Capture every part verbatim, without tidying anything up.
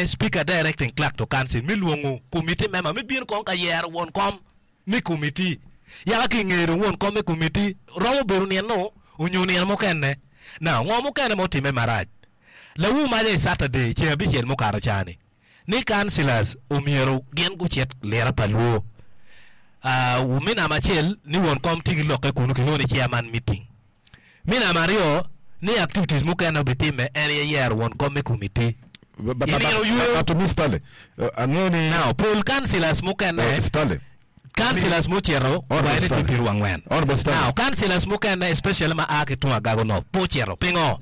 Speaker directing clerk to council mi lwongo committee member mi bino kong ka yero won kom mi committee yaka ki ngeyo dong won kom mi committee romo bedo nino onyo nino mukene. Now ngo mukene ma otime marac lawu maca i Saturday ceng abicel mukato cani ni councillors omyero gin gucit lira pa luo uh, mi namba acel ni won kom tye ki lokke kunu kilwongo ni chairman meeting mi namba aryo ni activities mukene obitime en aye yero won kom mi committee But, but, I nino yweyo. but, but to me Stanley, uh, angeyo ni Now pol councillors mukene uh, Stanley councillors mucito Honorable waene tye Stanley. piero angwen Honorable Stanley. Now councillors mukene especially ma a ki tung Agago North pe ocito pingo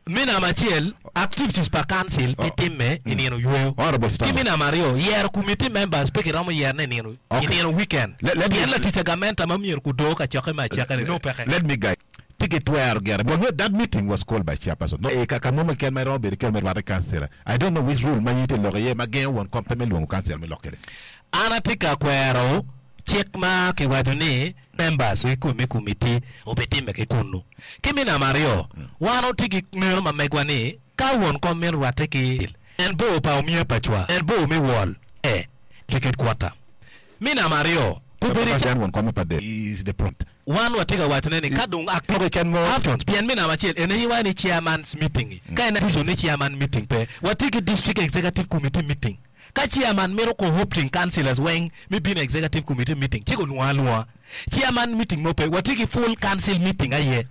mi namba acel activities pa council pe timme i nino yweyo Honorable ki Stanley. mi namba aryo yero committee members pe kiromo yerone i nino i Okay. nino weekend Let- let me- pien latic agamenta ma myero kudo ka cokke me acakane nongo peke Let me guide. Tiki twero gere. But when that meeting was called by chairperson. No, e kaka mo ken ma romo bedo ken me rwate councillor. I don't know which rule ma yite loko iye ma gengo won kom pe me lwongo councillor me lokere. An atye ka kwero cik ma kiwaco ni members ki mi committee obitime ki kunu. Ki mi namba aryo, wan otye ki ngeno ma megwa ni ka won kom mito rwatte ki en bor pa omia pa cwa, en bor mi wol e ticket quarter. Mi namba aryo, kubedi Then won kom pa de is the prompt. wan watye ka wacone ni ka dong ak- Toke ken mo actions pien mi namba acel ene iwaco ni chairman's meeting ka en reason ni chairman meeting pe watye ki district executive committee meeting ka chairman mito co-opting councillors weng mi bino executive committee meeting ci kulwongo alwonga chairman meeting mo pe watye ki full council meeting aye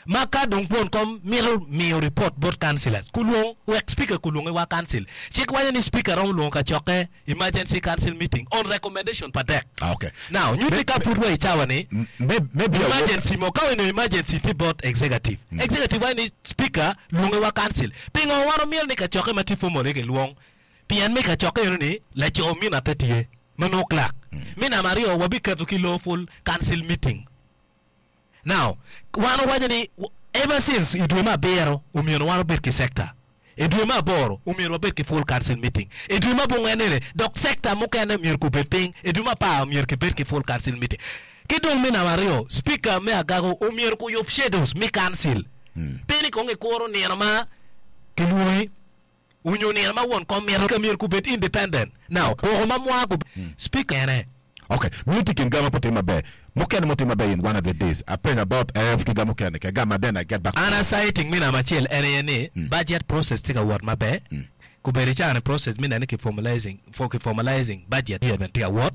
ma ka dong won kom mito miyo report bot councillors kulwong wek speaker kulwonge wa council cik waco ni speaker romo lwongo ka cokke emergency council meeting on recommendation pa dek Ah, okay. now nyuti ka pud wa i cawa ni Maybe, maybe I will- emergency mo ka weno emergency ti bot executive executive waco ni speaker lwonge wa council pingo wan omyero ni kacokke ma tye formal ki lwong pien mi kacokke eno ni laco mina pe tye ma nongo clerk mi namba aryo wabiketo ki lawful council meeting now wan owaco ni w- ever since i dwe me abiro omyero wan obed ki sector i dwe me aboro omyero wabed ki full council meeting i dwe me abongwen-ni dok sector mukene myero kubed piny i dwe me apar myero kibed ki full council meeting ki dong mi namba aryo speaker me Agago omyero kuyub schedules mi council pe ni kong ikuro nino ma kilwongi onyo nino ma won kom mito ka myero kubed independent now koko ma mwa ku speaker ene Okay, miti kin gama potim maber. Mukene motim maber in one hundred days. Apenyo about F ki gamo kene ke gama then I get back. An aciting mi namba acel en aye ni budget process tye ka wot maber kubedo icani process mi nene ki formalizing for ki formalizing budget year bene tye ka wot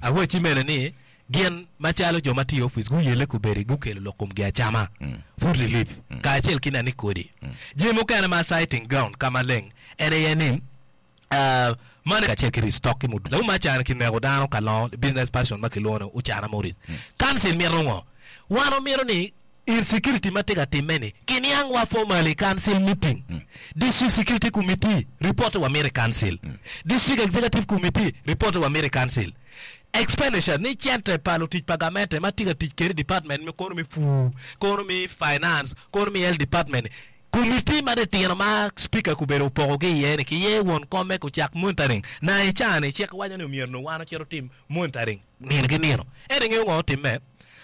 awacci mene ni gin macalo jo ma tye i office guyelle kubedi gukelo lok komgi acama food relief kacel ki nene kodi jami mukene ma citing ground ka maleng en aye ni uh, mane kacel ki restock ki mudu lawu ma cani kineko dano ka longo business person ma kilwongo ni Ucana Morris council mito ngo wan omito ni insecurity ma tye ka timme ni kiniang wa formally council meeting district security committee report wa mito i council district executive committee report wa mito i council expenditure ni cente pa lutic pa gamente ma tye ka tic kede department mi kono mi pur kono mi finance kono mi health department committee ma ditino ma speaker kubedo opoko ki iye ni kiye won kome kucak monitoring na i cani cik waco ni omyero no wan ocito tim monitoring nino ki nino ento ingeyo ngo otimme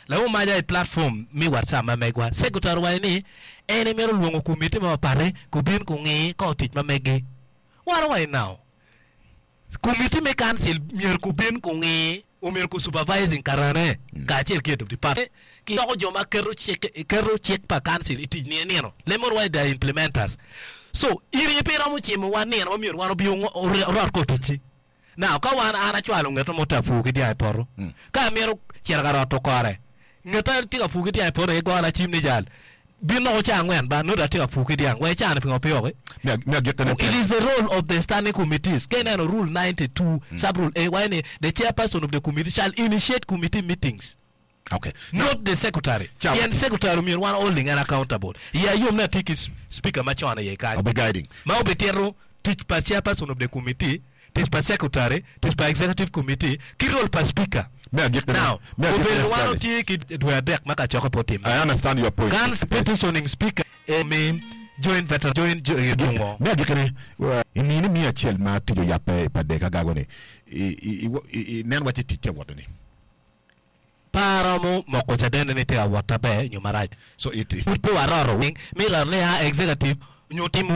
lawu maca i platform mi WhatsApp ma megwa secretary waco ni en emito lwongo committee ma mapate kubin kungii ka otic ma meggi wan owaco now committee me council myero kubin kungii omyero ku supervising karane kacel ki head of department ki doko jo ma keto cik keto cik pa council i tic nino nino lemon waco they are implementers so in aye pe iromo cimo wan nino ma myero wan obi orot ko ticci now ka wan an acwalo ngeto mo ta pur ki dyang i poto ka amito cito ka roto kore ngeta tye ka pur ki dyang i poto aye gona cim ni jal bin noko ca angwen ba nodo atye ka pur ki dyang wek icane pingo pe oki Me me agikene It is the role of the standing committees. Ka ineno rule ninety-two sub rule A waco ni the chairperson of the committee shall initiate committee meetings. Okay. Not the secretary. Ciao. Pien secretary omyero wan holding and accountable. Iya yom ni atye ki speaker macon iye kany. I'll be guiding. Ma obitito tic pa chairperson of the committee, tic pa secretary, tic pa executive committee, ki role pa speaker. Me agikene. Now, Me agikene obedo wan Stanley. otye ki dwe adek ma kacokke pe otimme. I understand your point. Kan petitioning speaker eh, mi join veteran join jo- eh, tungo. Me agikene inini mi acel ma tic oyabe pa dek Agago ni i i i i nen waci tic tye woto ni. Paromo moko cadene ni tye ka wot maber nyo marac. So it is. Pud pe waroto wing mi roto ni a executive nyo timo